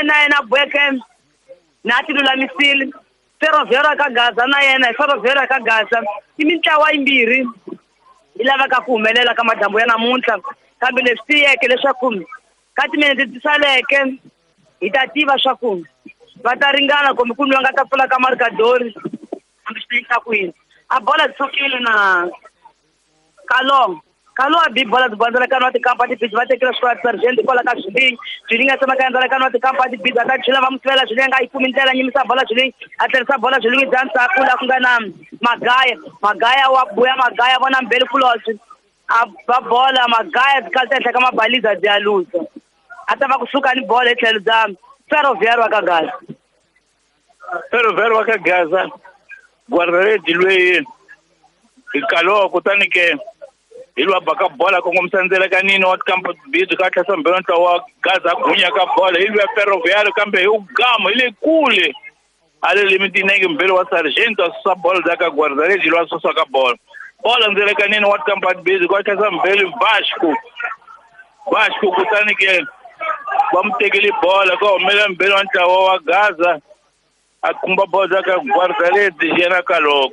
na yena boeke na ti lulamisile Ferroviário ka Gaza na yena hi Ferroviário ka Gaza i mintlawa yimbirhi yi lavaka ku humelela ka madyambu ya namuntlha kambe leswi tiyeke leswaku ka timinete ti saleke hi ta tiva swa ku va ta ringana kumbe ku nwa nga ta pfula ka markadori hambi swi ta ku yini a bola ti sukile na Kalong Kalo a bi bola ti bondzela ka nwa tikampa tibiji va tekela swikwala sergeant kwala ka Zwilingi Zwilingi a tsemaka endzela ka nwa tikampa tibiji a ta chela va mu sivela Zwilingi a yi kumi ndlela nyimisa bola Zwilingi a tlherisa bola Zwilingi bya ndzhaku laha ku nga na Magaya Magaya wa buya Magaya vona mbeli kulobye a ba bola Magaya tikhali ta henhla ka mabaliza byi ya luza a ta va kusuka ni bola hi tlhelo bya Ferroviário wa ka Gaza Ferroviário wa ka Gaza guardaredi lweyi hi Kalo kutani ke hi lwa baka bola kongomisa ndzela ka nini wa tikampa bidzi ka tlhasa mbirhi ntlawa wa Gaza gunya ka bola hi lwa Ferroviário kambe hi ugama hi le kule a le limitinenge mbirhi wa sergeant a susa bola dza ka guardaredi lwa susa ka bola bola ndzela ka nini wa tikampa bidzi ka tlhasa mbirhi Vasco Vasco kutani ke va mu tekele bola ka humela mbirhi wa ntlawa wa Gaza a khumba bola dza ka guardaredi yena Kalo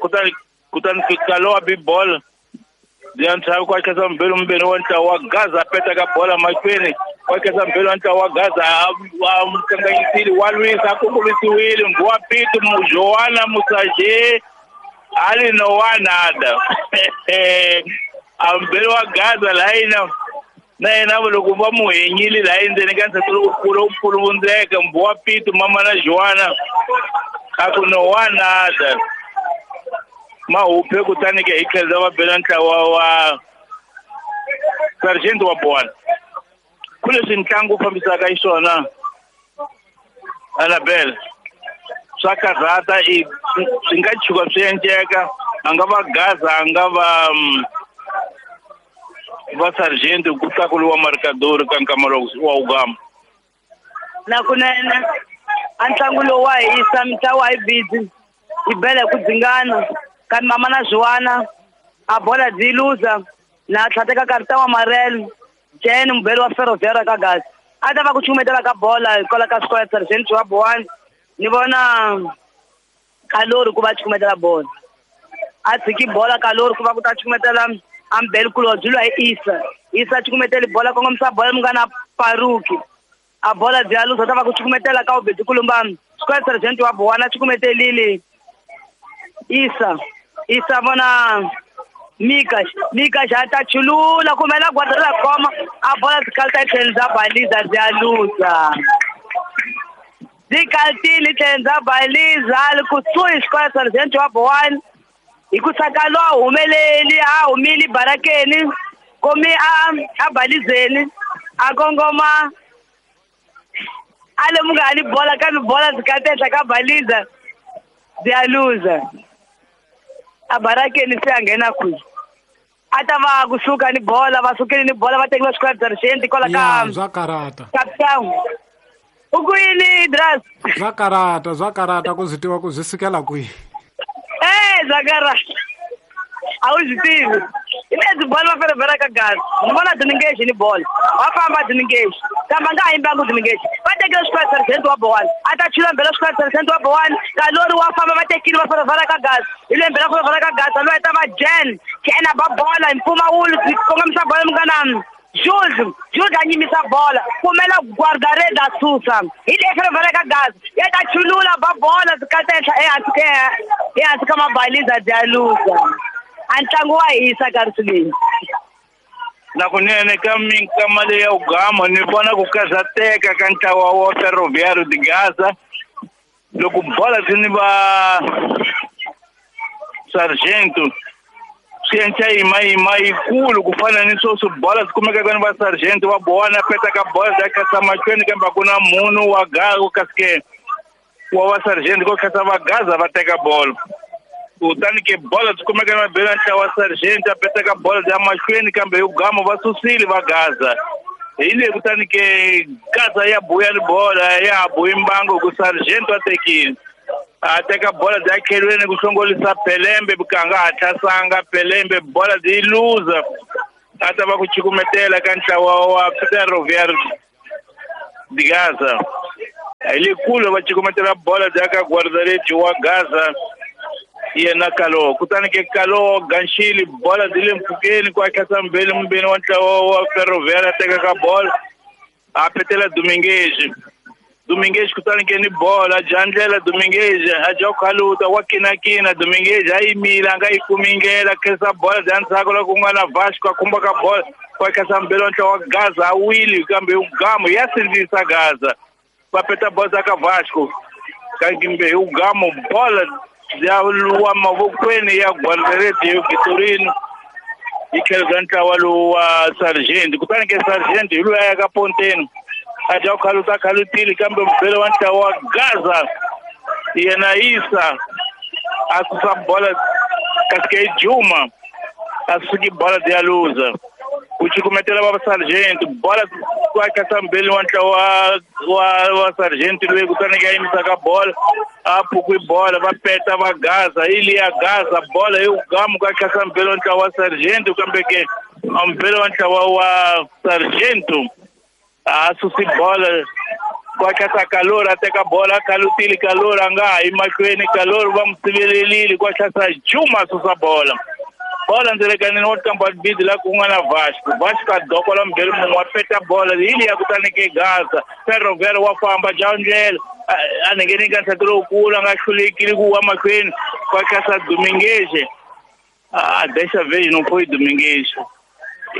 kutani Kalo a bi bola ya ntlhaku kwa kesa mbirhi mbirhi wa ntlawa wa Gaza a peta ka bola mahlweni wa kesa mbirhi wa ntlawa wa Gaza a mu kanganyisile wa lwisa a kongomisiwile Mbuwa Pito Joana Musaje ali no wanada a mbirhi wa Gaza layina na yena loko va mu henyile laha endzeni ka nsati lowukulu wu vundzeka Mbuwa Pito mama na Joana a ku no wanada mahuphe kutani ke hi tlhela va bela ntlawa wa sergeant wa bola ku leswi ntlangu wu fambisaka xiswona Annabel swa karhata i swi nga tshuka swi endleka a nga va Gaza a nga va va sergeant ku tlakuliwa markadori ka nkama lowu wa ugama na kunene a ntlangu lowu wa hisa mintlawa yi busy yi bela hi ku dzingana kambe mama na Joana a bola byi luza na tlhateka karita wa Marelo Jen mubeli wa Ferroviário ka Gaza a ta va ku chumetela ka bola hikwalaho ka square sergeant wa Bowana ni vona Kalori ku va chumetela bola a tshiki bola Kalori ku va ku ta chumetela ambeli kulobye lwa hi Isa Isa chukumeteli bola kongomisa bola munghana Paruki a bola byi ya luza ta va ku chukumetela ka ubedzi kulumba square sergeant wa Bowana chukumetelile Isa Isa vona Mika Mika xa ta chulula kumela guarda khoma a bola tikalta tlhelo bya baliza byi ya luza tikaltile tlhelo bya baliza li kusuhi square sergeant wa Bowana hi ku saka lo a humeleli a humile barakeni komi a balizeni a kongoma a lemuka ni bola kambe bola tikalta henhla ka baliza byi ya luza a barakeni se a nghena kwihi a ta va kusuka ni bola va sukile ni bola va tekiwa square sergeant kwala ka bya karata Cape u ku yini Idras bya karata ku swi tiva ku byi sukela kwihi bya karata a wu swi tivi hi lebyi bola va Ferroviário ka Gaza ni vona Diningexi ni bola va famba Diningexi kambe a nga ha yimbangi Diningexi va tekile square sergeant wa Bowana a ta chula mbela square sergeant wa Bowana Kalori wa famba va tekile va Ferroviário ka Gaza hi le mbela Ferroviário ka Gaza loyi ta va Jen Jen a ba bola hi mpfumawulo kongomisa bola munghana Jules Jules a nyimisa bola kumela guardareda a susa hi le Ferroviário ka Gaza ya ta chulula ba bola tikalta henhla ehansi ka mabaliza byi ya luza a ntlangu wa hisa karhi na kunene ka minkama leyi ya ugama ni vona ku karhateka ka ntlawa wa Ferroviário de Gaza loko bola swi ni va sergeant swi endla yima yikulu ku fana ni sweswi bola swi kumekaka ni va sergeant wa Bowana peta ka bola bya kasa mahlweni kambe a ku na munhu wa Gaza kasi ke wa va sergeant ko khasa va Gaza va teka bola kutani ke bola swi kumeka na mabelo ntlawa wa sergeant a peta ka bola bya mahlweni kambe hi ugama va susile va Gaza hi le kutani ke Gaza ya buya ni bola ya buyi mbango ku sergeant wa tekile a teka bola bya khelweni ku hlongolisa Pelembe bukanga hatlasanga Pelembe bola byi luza a ta va ku chukumetela ka ntlawa wa Ferroviário de Gaza. A hi le kule va cukumetela bola bya ka guardareti wa Gaza yena Kalo. Kutani ke Kalo ganxili bola byi le mpfhukeni ku akhasa mbeli mumbeni wa ntlawa wa Ferroviário a teka ka bola a petela Dominguez. Dominguez kutani ke ni bola dya ndlela Dominguez a dya khaluta wa kinakina Dominguez a yimile a nga yi kumi ndlela khensa bola bya ndzhaku loko ku nga na Vasco a khumba ka bola ku akhasa mbeli wa ntlawa wa Gaza a wile kambe Gamu ya sindzisa Gaza va peta bola ka Vasco kambe hi Gamu bola ya wa mavokweni ya Guardareti yo Vitorino yi tlhelo bya ntlawa lowu wa Sargent. Kutani ke Sargent hi loyi a ya ka Ponteni a dya khaluta khalutile kambe mubele wa ntlawa wa Gaza yena Isa a susa bola kasi ke Juma a suki bola ya luza ku cukumetela va Sargent bola ku akasa mbeli wa ntlawa wa Sargent loyi kutani ke a yimisa ka bola a phukwi bola va peta va Gaza ili ya Gaza bola yi gamu ku akasa mbeli wa ntlawa wa Sargent kambe ke mbeli wa ntlawa wa Sargent a susi bola ku akasa Kalor a teka bola khalutile Kalor a nga ha yi mahlweni Kalor va n'wi sivelelile ku akasa Juma a susa bola bola ndzelekanini wa kamba bidi la ku nga na Vasco. Vasco a dokola mbeli mun'we wa peta bola hi liya kutani ke Gaza Ferroviário wa famba dya ndlela a ngheni ka ntlhatu lowukulu a nga hlulekile ku wa mahlweni ku akasa Dominguez a dessa vez não foi Dominguez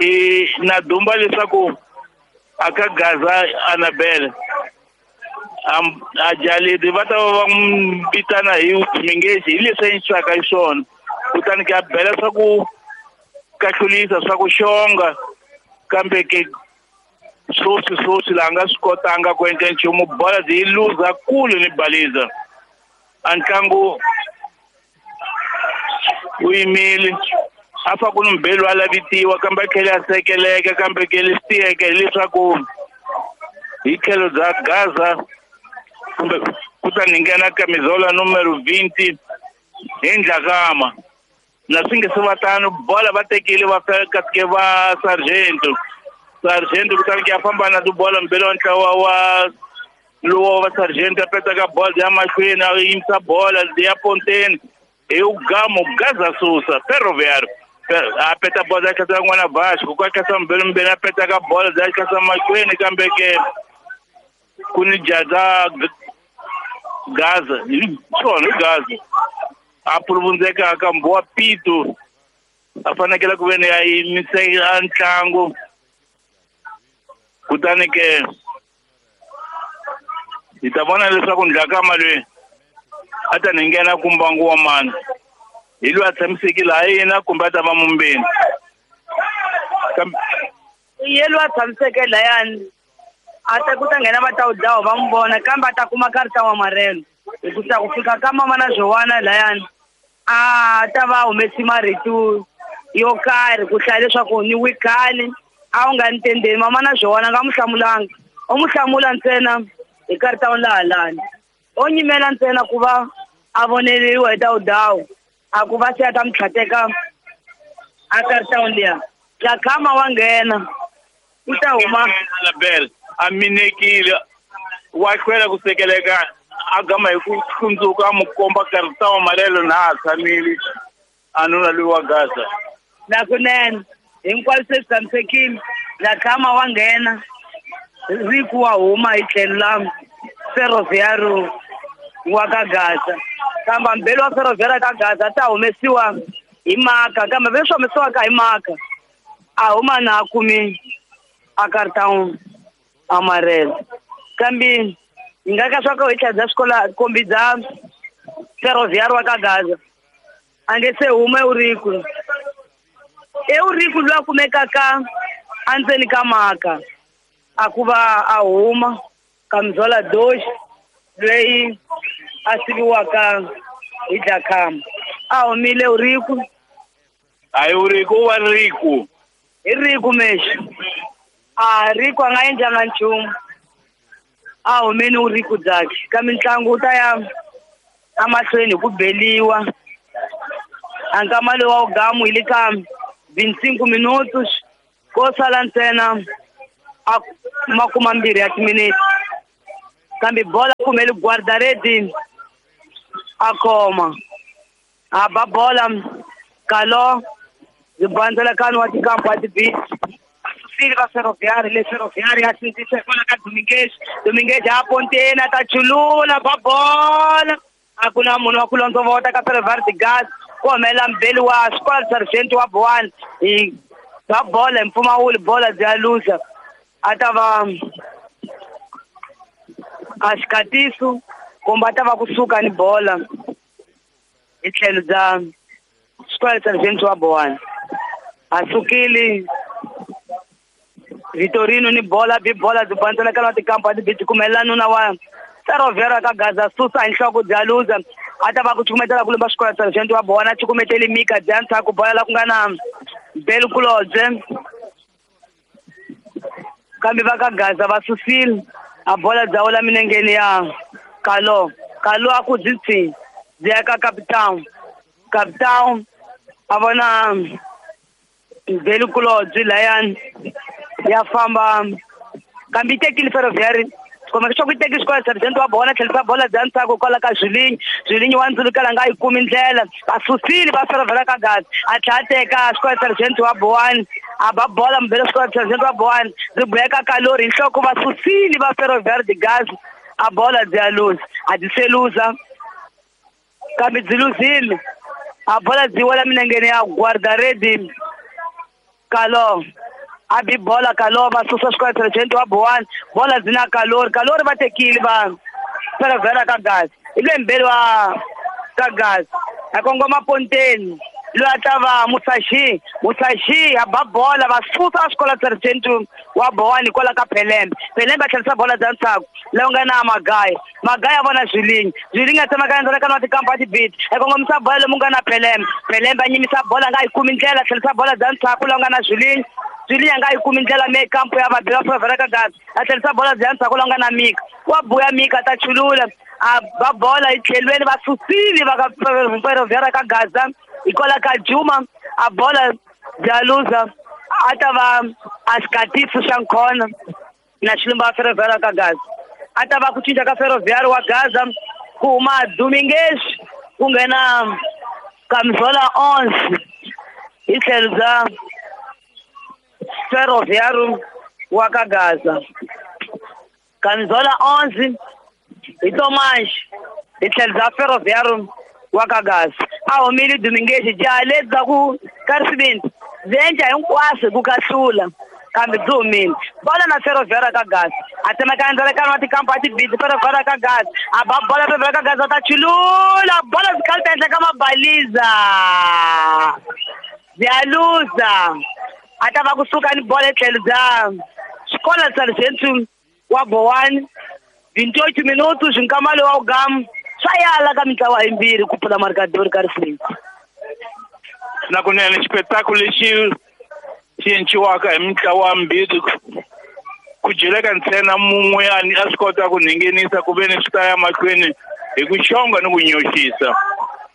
e na dumba leswaku aka Gaza Anabel a jalidi va ta va n'wi vitana hi Dominguez hi leswi a endlisaka xiswona kutani ke a bela swa ku kahlulisa swa ku xonga kambe ke swoswi laha nga swi kotanga ku endla nchumu bola byi luza kule ni baliza a ntlangu wu yimile a fa ku ni mbelu a lavitiwa kambe a tlhela a sekeleka kambe ke leswi tiyeke hileswaku hi tlhelo bya Gaza kumbe ku ta ni nghena camisola numero 20 hi Ndlakama na swi nge se va tano bola va tekile va kasi ke va Sargento kutani ke a famba na tibola mbeli wa ntlawa wa lowo wa Sargento a peta ka bola ya mahlweni a yimisa bola ya Ponteni hi Gamu Gaza susa Ferroviário a peta bola ya khasa n'wana Vasco ku khasa mbeli mbeli a peta ka bola ya khasa mahlweni kambe ke ku ni jaza Gaza hi swona hi Gaza a puluvundzeka ka mbuwa Pito a fanekele ku veni a yimise ntlangu kutani ke hi ta vona leswaku Ndlakama loyi a ta ni nghena ku mbangu wa mani hi loyi a tshamisekile ha yena kumbe a ta va mumbeni ye loyi a tshamiseke layani a ta ku ta nghena va ta wu dlawa va n'wi vona kambe a ta kuma karita wa marelo hi ku ta ku fika ka mama na Joana layani a ta va humesi marito yo karhi ku hlaya leswaku ni wikhale a wu nga ni tendeni mama na Joana nga n'wi hlamulanga u n'wi hlamula ntsena hi karita wa lahalani o nyimela ntsena ku va a voneriwa hi dawudawu a ku va se a ta n'wi tlhateka a karita liya Dlakama wa nghena u ta huma Anabel a minekile wa hlwela ku sekeleka a gama hi ku hlundzuka a mu komba karita wa malelo na a tshamile a nuna loyi wa Gaza na kunene hinkwaswo se swi tshamisekile Dlakama wa nghena Riku wa huma hi tlhelo la Ferroviário wa ka Gaza kambe mbeli wa Ferroviário ka Gaza ta humesiwa hi maka kambe leswi humesiwaka hi maka a huma na a kumi a karita amarelo kambe hi nga ka swa ku hi tlhela bya swikola kombi bya Ferroviário wa ka Gaza a nge se huma Eurico Eurico loyi a kumekaka endzeni ka maka a ku va a huma camisola 2 loyi a siviwaka hi Dlakama a humile Eurico a Eurico wa Rico hi Rico mexi a Rico a nga endlanga nchumu a humeni Eurico byakhe kambe ntlangu wu ta ya emahlweni hi ku beliwa a nkama lowu wa wugamu hi le ka 25 minutos ko sala ntsena a 20 ya timinete. Kambe bola kumele guardaredi a khoma. A ba bola Kalo zibandzela kanu wa tikampo wa tibisi. Asusile va Ferroviário, le Ferroviário a sindzisa hikwalaho ka Dominguez. Dominguez a ponteni a ta chulula ba bola. A ku na munhu wa ku londzovota ka Ferroviário de Gaza. Ku humelela mbeli wa Escola Sargento wa Boane. Hi ba bola hi mpfumawulo bola byi ya luza. A ta va a xikatiso kumbe a ta va kusuka ni bola hi tlhelo bya Escola Sargento wa Boane. A sukile Vitorino ni bola bi bola byi bandzela ka tikampa ti byi kumelela nuna wa Ferroviário ka Gaza susa hi nhloko bya luza. A ta va ku cukumetela ku lumba Escola Sargento wa Boane a cukumeteli Mika bya ndzhaku bola la ku nga na Belu Kulodze. Kambe va ka Gaza va susile a bola bya wela minengeni ya Kalo. Kalo a ku byi tsi byi ya ka Capitão. Capitão a vona Belu Kulodze layani ya famba kambe yi tekile Ferroviário. Kumbe leswaku yi teki Escola Sargento wa Boane tlherisa bola bya ndzhaku kwala ka Zwilinyi. Zwilinyi wa ndzulukela nga yi kumi ndlela. Va susile va Ferroviário ka Gaza. A tlhela a teka Escola Sargento wa Boane. A ba bola mbele Escola Sargento wa Boane. Byi boheka Kalori hi nhloko va susile va Ferroviário de Gaza. A bola byi ya luza. A byi se luza. Kambe byi luzile. A bola byi wela minengeni ya guardaredi Kalo. A bi bola Kalo va susa Escola Sargento wa Boane. Bola byi na Kalori. Kalori va tekile va Ferroviário ka Gaza. Hi le mbeli wa ka Gaza. A kongoma ponteni. Loyi a ta va Musashi. Musashi a ba bola va susa Escola Sargento wa Boane kwala ka Pelembe. Pelembe a tlherisa bola bya ndzhaku. Loyi nga na Magaya. Magaya a vona Zwilinyi. Zwilinyi a tsemaka endzhaku ka tikampa a tibiti. A kongomisa bola lomu nga na Pelembe. Pelembe a nyimisa bola nga yi kumi ndlela a tlherisa bola bya ndzhaku loyi nga na Zwilinyi. Zwilinyi a nga yi kumi ndlela me kampo ya vabi va Ferroviário ka Gaza. A tlherisa bola bya ndzhaku loyi nga na Mika. Wa buya Mika ta chulula. A ba bola hi tlhelweni va susile va ka Ferroviário ka Gaza. Hikwalaho ka Juma a bola bya luza. A ta va a xikatiso xa nkhona na xilumba Ferroviário ka Gaza. A ta va ku cinca ka Ferroviário wa Gaza ku huma Dominguez ku nghena Camisola 11 hi tlhelo bya Ferroviário wa ka Gaza. Camisola 11 hi Tomas hi tlhelo bya Ferroviário wa ka Gaza. A humile Dominguez jaha lebyi bya ku ka risivindi byi endla hinkwaswo ku kahlula kambe byi humile. Bola na Ferroviário ka Gaza. A tsemeka endzhaku wa tikampa a tibisi Ferroviário ka Gaza. A ba bola Ferroviário ka Gaza ta chulula bola byi khalita ehenhla ka mabaliza. Byi ya luza. A ta va kusuka ni bola etlhelo bya Escola Sargento wa Boane. 28 minutos nkama lowu wa wugamu swa yala ka mitlawa yimbirhi ku pfula marikadori ka risivindi. Na kunene xipetaku lexi xi enciwaka hi mitlawa mbirhi ku dyeleka ntsena mun'we a swi kota ku nghenisa ku ve ni swi ta ya mahlweni hi ku xonga ni ku nyoxisa.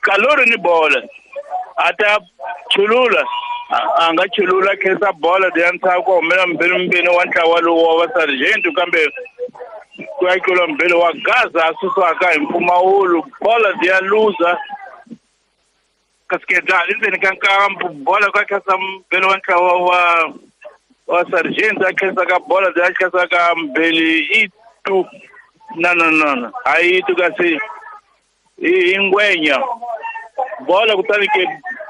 Kalori ni bola a ta chulula a nga chulula khensa bola ya ndzhaku humela mbirhi wa ntlawa lowu wa va Sargento kambe ku ya tlula mbirhi wa Gaza a susiwaka hi mpfumawulo bola ya luza. Kasi endzeni ka nkambu bola ka khensa mbirhi wa ntlawa wa Sargento a khensa ka bola ya khensa ka mbirhi i tu na na na a yi tu kasi i ngwenya bola kutani ke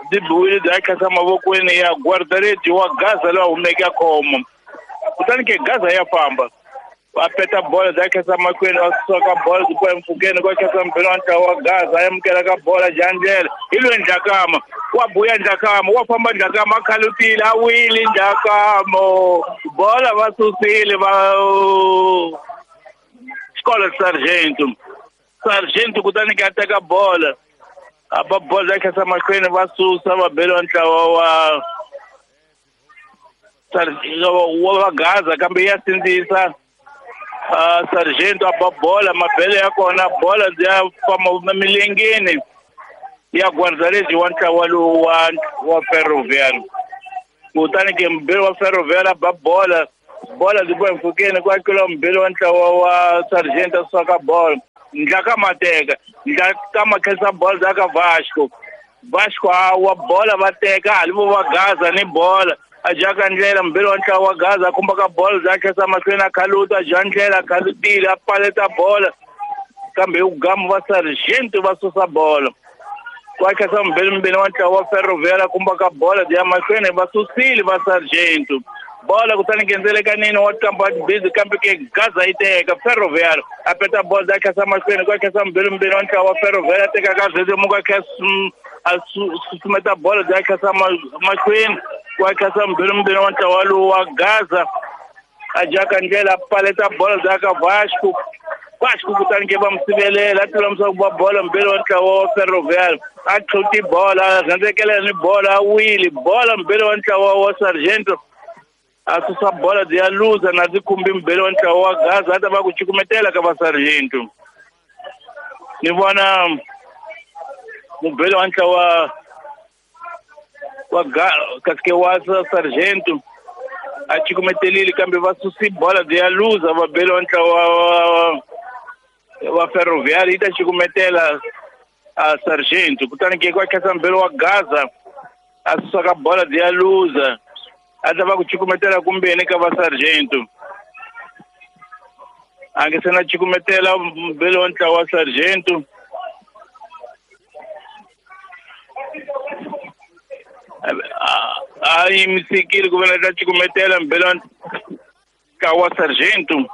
byi biwile bya khensa mavokweni ya guardaredi wa Gaza loyi a humeke a khoma. Kutani ke Gaza ya famba va peta bola bya khensa mahlweni va suka ka bola byi kwa empfhukeni kwa khensa mbirhi wa ntlawa wa Gaza a amukela ka bola jandlela hi loyi Ndlakama wa buya Ndlakama wa famba Ndlakama a khalutile a wile Ndlakama bola va susile va Escola Sargento. Sargento kutani ke a teka bola a ba bola bya khensa mahlweni va susa va beliwa ntlawa wa wa Gaza kambe ya sindzisa Sargento a ba bola mabele ya kona bola ya famba milengeni ya guardaredi wa ntlawa lowu wa Ferroviário. Kutani ke mbirhi wa Ferroviário a ba bola Bola byi boha mpfhukeni ku akeliwa mubeli wa ntlawa wa Sargent a susa ka bolo. Ndlaka mateka, ndlaka makhensa bola bya ka Vasco. Vasco a wa bola va teka hali vo va Gaza ni bola. A jaka ndlela mubeli wa ntlawa wa Gaza a khumba ka bola bya khensa mahlweni a khaluta a ja ndlela a khalutile a paleta bola. Kambe hi ku gamu va Sargent va susa bola. Ku akhensa mubeli mbeni wa ntlawa wa Ferroviário a khumba ka bola bya mahlweni va susile va Sargent. Bola kutani nghenzeleka nini wa kampa busy kambe ke Gaza yi teka Ferroviário a peta bola bya khensa mahlweni ku akhensa mubeli mbeni wa ntlawa wa Ferroviário a teka ka zezemuka a susumeta bola bya khensa mahlweni ku akhensa mubeli mbeni wa ntlawa lowu wa Gaza a jaka ndlela a paleta bola bya ka Vasco. Vasco kutani ke va mu sivelela a tlula ku va bola mubeli wa ntlawa wa Ferroviário a tlhuti bola a rhendzekelela ni bola a wile bola mubeli wa ntlawa wa Sargento a susa bola byi ya luza na byi khumbi mubeli wa ntlawa wa Gaza a ta va ku cukumetela ka va Sargento. Ni vona mubeli wa ntlawa wa kasi wa Sargento a cukumetelile kambe va susi bola byi ya luza vabeli wa ntlawa wa Ferroviário yi ta cukumetela a Sargento. Kutani ke ku akhensa mubeli wa Gaza a susa ka bola byi ya luza a ta va ku cukumetela kumbeni ka va Sargento. A nge se na cukumetela mubeli wa ntlawa wa Sargento. A yimisekile ku ve na ta cukumetela mubeli wa ntlawa wa Sargento.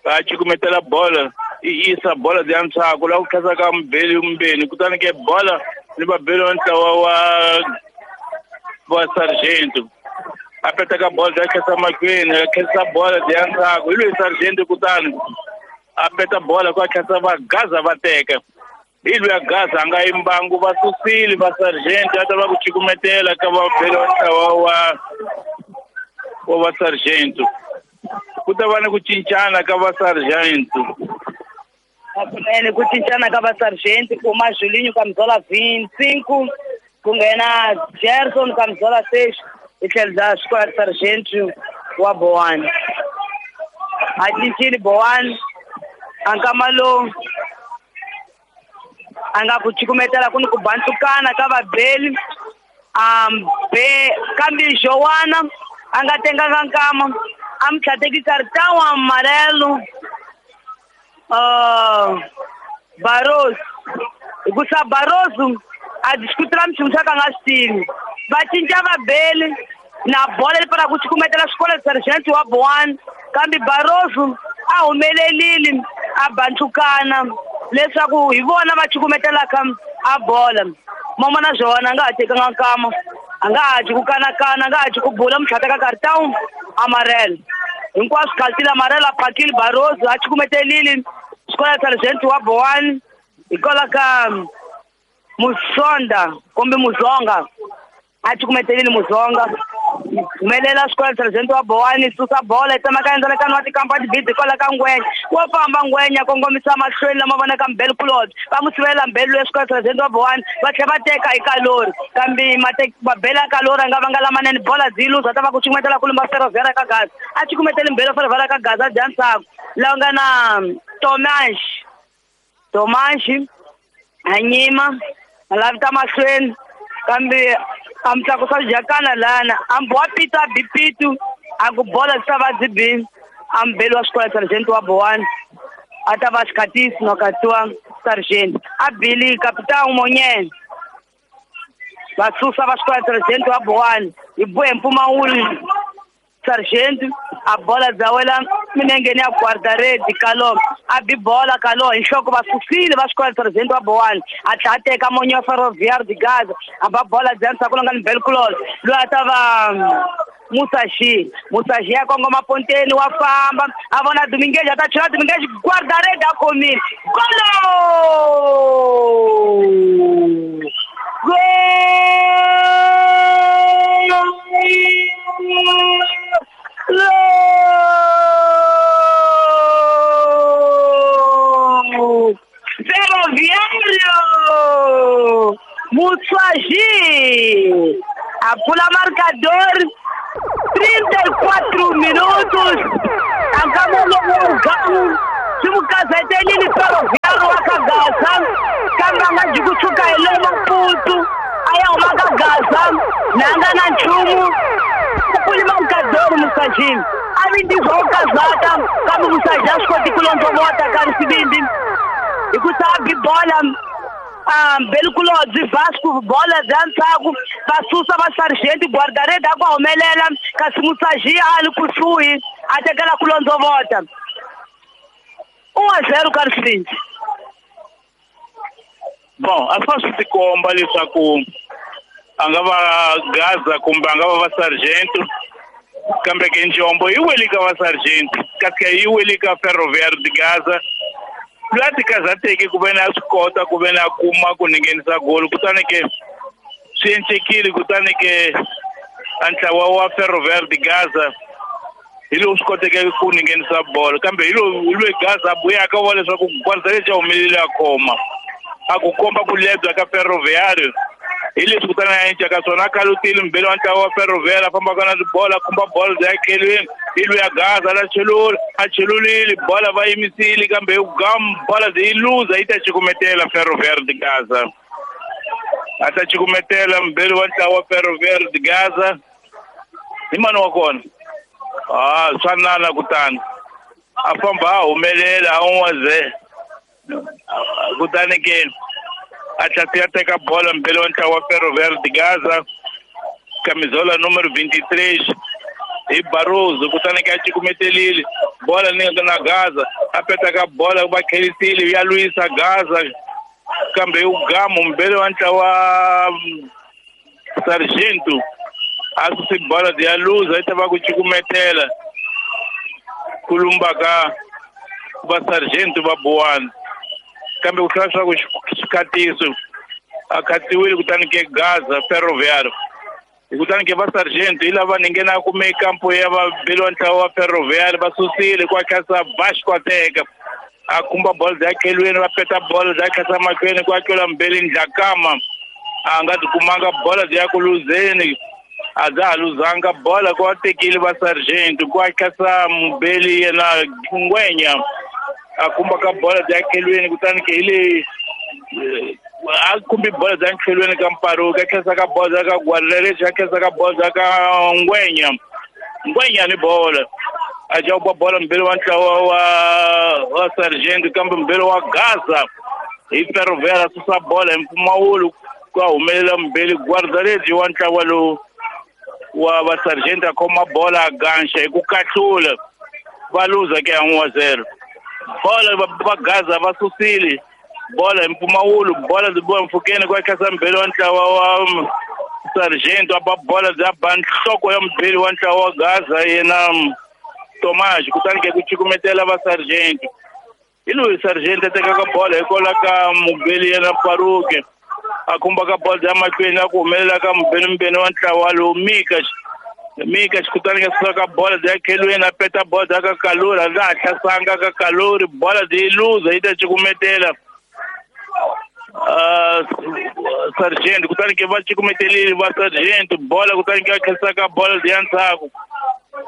A cukumetela bola i yisa bola bya ntshaku laha ku khensa ka mubeli mbeni kutani ke bola ni vabeli wa ntlawa wa Sargento. A peta ka bola bya khensa mahlweni a khensa bola bya ntshaku hi loyi Sargento kutani a peta bola ku a khensa va Gaza va teka. Hi loyi a Gaza a nga yimbangu va susile va Sargento a ta va ku cukumetela ka vabeli wa ntlawa wa va Sargento. Ku ta va ni ku cincana ka va Sargento. Kunene ku cincana ka va Sargento ku huma Julinho ka Mzola 25 ku nghena Gerson ka Mzola 6 hi tlhelo bya Square Sargento wa Bowane. A cincile Bowane a nkama lowu a nga ku cukumetela ku ni ku bantukana ka vabeli kambe Joana a nga tenganga nkama a mi tlhateki cartão amarelo Barroso. Hikusa Barroso a discutela minchumu swa ka nga swi tivi. Va cinca vabeli na bola leyi fanaka ku cukumetela xikolo Sargento wa Bowane kambe Barroso a humelelile a bantukana leswaku hi vona va cukumetelaka a bola. Mama na Joana a nga ha tekanga nkama a nga ha dyi ku kanakana a nga ha dyi ku bula mutlhateka cartão amarelo. Hinkwaswo khaltile amarelo a phakile Barroso a cukumetelile xikolo Sargento wa Bowane hikwalaho ka Musonda kumbe Muzonga a cukumetelile Muzonga. Humelela xikolo Sargento wa Bowane susa bola yi tsemaka endzalekani wa tikampani bidi hikwalaho ka Ngwenya. Wo famba Ngwenya kongomisa mahlweni lama vonaka mbeli kulobye va mu sivela mbeli loyi xikolo Sargento wa Bowane va tlhela va teka hi kalori kambe mabeli ya kalori a nga vanga lamanene bola byi luza ta va ku cukumetela ku lumba Ferroviário ka Gaza a cukumeteli mbeli wa Ferroviário ka Gaza dya ntshaku laha nga na Tomanshi a nyima a lavita mahlweni kambe a mi tlakusa swijakana lana a mbowa pitu a bi pitu a ku bola byi ta va byi bi a mubeli wa xikolo Sargento wa Bowane a ta va xikhatisi no katiwa Sargento a bili Capitão Monyene va susa va xikolo Sargento wa Bowane hi bohe mpfumawulo Sargento a bola bya wela minengeni ya guarda-rede Kalo a bi bola Kalo hi nhloko va susile va xikolo Sargento wa Bowane a tlhela a teka monye wa Ferroviário de Gaza a ba bola bya ntshaku lowu nga ni Belclose loyi a ta va Musashi Musashi ya kongoma ponteni wa famba a vona Dominguez a ta chela Dominguez guarda-rede a khomile golo Gol! Ferroviário! Musashi! A pula marcador 34 minutos ankamologamu swi mu kazetelile Ferroviário wa ka Gaza kambe a nga ji kusuka hi le Maputo a ya huma ka Gaza na nga na nchumu kulima mukadori musajini a vindizwa u kazaka kambe musaji a swi koti ku londzovota ka risivindi hi ku sa bi bola Belkulodzi Vasco bola bya ndzhaku va susa va sergeant guardarede a ku humelela kasi musaji a li kusuhi a tekela ku londzovota 1-0 ka risivindi. Bon, a swa swi tikomba leswaku a nga va Gaza kumbe a nga va va sergeant kambe ke njombo yi wele ka va sergeant kasi yi wele ka Ferroviário de Gaza loyi a tikazateke ku ve ni a swi kota ku ve ni a kuma ku ni nghenisa golo kutani ke swi encekile kutani ke a ntlawa wa Ferroviário de Gaza hi lowu swi koteke ku ni nghenisa bolo kambe hi lowu loyi Gaza a buyaka wa leswaku kwanza lexi a humelele a khoma a ku komba ku lebya ka Ferroviário hi leswi kutani a enca ka swona a kalutile mbele wa ntlawa wa Ferroviário a fambaka na tibola a khumba bolo bya khelweni hi loyi a Gaza la chelula a chelulile bola va yimisile kambe hi gam bola yi luza yi ta cukumetela Ferroviário de Gaza a ta cukumetela mbele wa ntlawa wa Ferroviário de Gaza hi mani wa kona a swa nana kutani a famba a humelela a n'waze kutani ke a tlhela a teka bola mbele wa ntlawa wa Ferroviário de Gaza camisola número 23 hi Barroso kutani ke a cukumetelile bola ni na Gaza a peta ka bola va khelisile ya lwisa Gaza kambe ugamu mbele wa ntlawa Sargento a susi bola ya luza yi ta va ku cukumetela ku lumba ka va Sargento va Buwana kambe ku hlaya swa ku xikhatiso a khatiwile kutani ke Gaza Ferroviário kutani ke va Sargento hi lava ni nghena kume kampo ya va beliwa ntlawa wa Ferroviário va susile ku akhasa Vasco a teka a khumba bolo ya khelweni va peta bolo ya khasa mahlweni ku akela mbeli Ndlakama a nga tikumanga bola ya ku luzeni a dza ha luzanga bola ku a tekile va Sargento ku akhasa mubeli yena Ngwenya a khumba ka bola ya khelweni kutani ke hi le a khumbi bola ya khelweni ka Mparuka a khesa ka bola ka Guardarede a khesa ka bola ka Ngwenya Ngwenya ni bola a jauba bola mbele wa ntlawa wa Sargento kambe mbele wa Gaza hi Ferroviário a susa bola hi mpfumawulo ku a humelela mbeli Guardarede wa ntlawa lowu wa va Sargento a khoma bola a ganxa hi ku kahlula va luza ke 1-0 bola va Gaza va susile bola hi mpfumawulo bola byi boha mpfhukeni ku akhasa mbeli wa ntlawa wa Sargento a ba bola bya ba nhloko ya mubeli wa ntlawa wa Gaza yena Tomás kutani ke ku cukumetela va Sargento hi loyi Sargento a tekaka bola hikwalaho ka mubeli yena Paruke a khumba ka bola ya mahlweni a ku humelela ka mubeli mbeni wa ntlawa lowu Mika kutani ka suka ka bola ya khelweni a peta bola ya ka Kalori a nga ha hlasanga ka Kalori bola yi luza yi ta cukumetela Sargento kutani ke va cukumetelile va Sargento bola kutani ke a khesa ka bola ya ndzhaku